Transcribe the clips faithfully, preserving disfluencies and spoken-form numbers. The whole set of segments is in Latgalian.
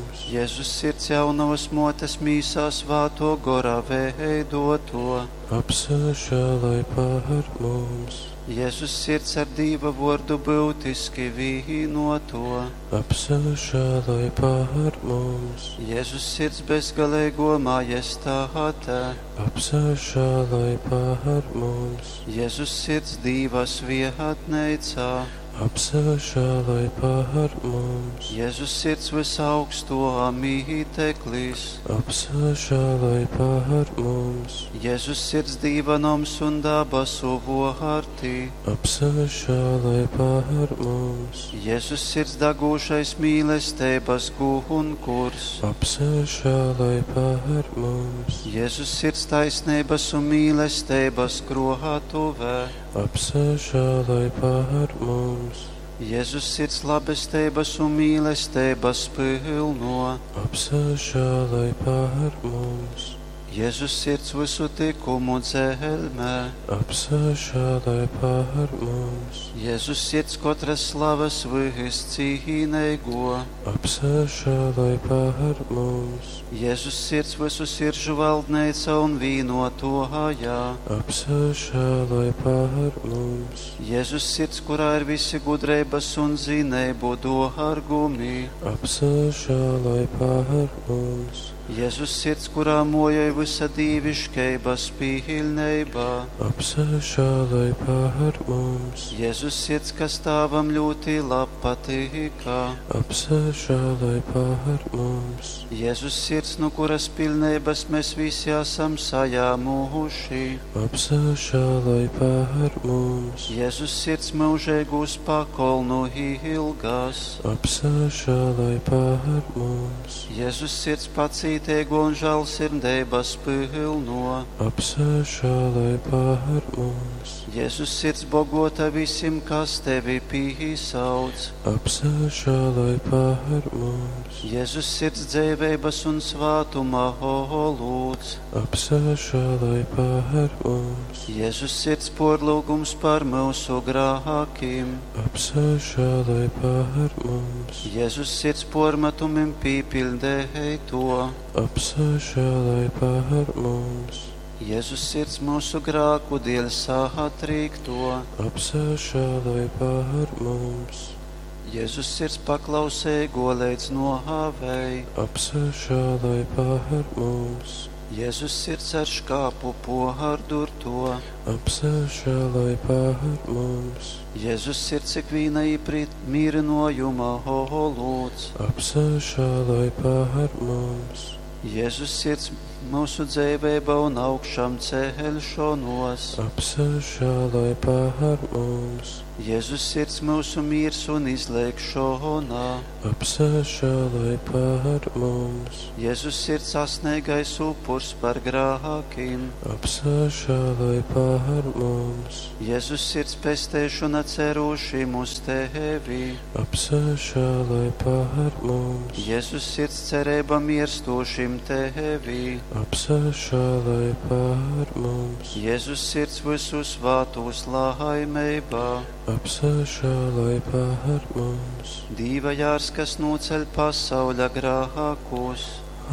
mums! Jēzus sirds jaunavas mōtes mīsā svātō gora veidoto. Apsažāloj par mums! Jēzus sirds ar Dīva vōrdu būtiski vīnoto. Apsažāloj par mums! Jēzus sirds bezgaleigo majestāte. Apsažāloj par mums! Jēzus sirds Dīva svietneicā. Apsažāloj par mums! Jēzus sirds visaugsto mīteklis. Apsažāloj par mums! Jēzus sirds Dīva noms un dabasu vōrti. Apsažāloj par mums! Jēzus sirds dagūšais mīlestības gunkurs. Apsažāloj par mums! Jēzus sirds taisnības un mīlestības krātuvē. Apsažāloj par mums! Jēzus sirds labestības un mīlestības pilno. Apsažāloj par mums! Jēzus sirds visu tikumu dzelmē. Apsažāloj par mums! Jēzus sirds katras slavas viscīneigo. Apsažāloj par mums! Jēzus sirds visu siržu valdneica un vīnotojā. Apsažāloj par mums! Jēzus sirds, kurā ir visi gudrības un zinību dārgumi. Apsažāloj par mums! Jēzus sirds, kurā mojai visa dīviškeibas pilnībā. Apsažāloj par mums! Jēzus sirds, kas tāvam ļoti labpatīkā. Apsažāloj par mums! Jēzus sirds, no kuras pilnības mēs visi esam sajāmuši. Apsažāloj par mums! Jēzus sirds mūžīgūs pakolnu ilgās. Apsažāloj par mums! Jēzus sirds pacītīgo un žēlsirdības pilno. Apsažāloj par mums! Jēzus sirds bogota visiem, kas tevi pīsauc. Apsažāloj par mums! Jēzus sirds dzīvības un svētuma olūts. Apsažāloj par mums! Jēzus sirds porlūgums par mūsu grākiem. Apsažāloj par mums! Jēzus sirds pormetumim pīpildēja to. Apsažāloj par mums! Jēzus sirds mūsu grāku dēļ satrīkto. Apsažāloj par mums! Jēzus sirds paklausēgo līdz nohāvei. Apsažāloj par mums! Jēzus sirds ar škāpu pohardurto. Apsažāloj par mums! Jēzus sirds ikvīna īprīt mīrinojuma holūts. Apsažāloj par mums! Jēzus sirds mūsu dzīvība un augšām ceļšanos. Apsažāloj par mums! Jēzus sirds mūsu miers un izlēkšana. Apsažāloj par mums! Jēzus sirds asnīgais upurs par grākiem. Apsažāloj par mums! Jēzus sirds pestēšana cerūšim uz tevi. Apsažāloj par mums! Jēzus sirds cerība mirstošim tevi. Apsažāloj par mums! Jēzus sirds visu svātus laimībā. Apsažāloj par mums! Dīva jārs, kas noceļ pasauļa grākus.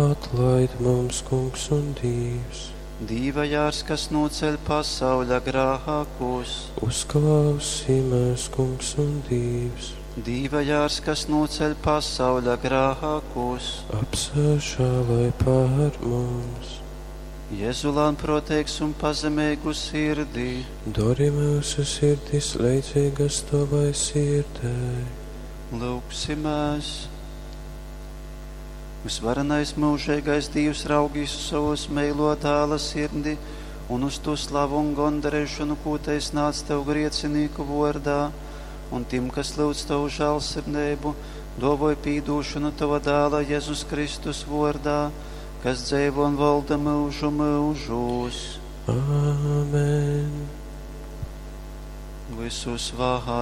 Atlaid mums, Kungs un Dievs! Dīva jārs, kas noceļ pasauļa grākus. Uzklausī mūs, Kungs un Dievs! Dīva jārs, kas noceļ pasauļa grākus. Apsažāloj par mums! Jēzu lēnprātīgs un pazemīgu sirdī. Dori mūsu sirdis leidzīgas tavai sirdei. Lūgsimies! Visvarenais mūžīgais Dievs raugīs uz savus meilo dēla sirdi un uz to slavu un gondarēšanu, ko tais nāc tev griecinīku vārdā, un tim, kas lūdz tavu žēlsirdību, dovoj pīdūšanu tava dēla Jēzus Kristus vārdā, kas dzīvo un valda mūžu mūžos. Āmen! Visu svātā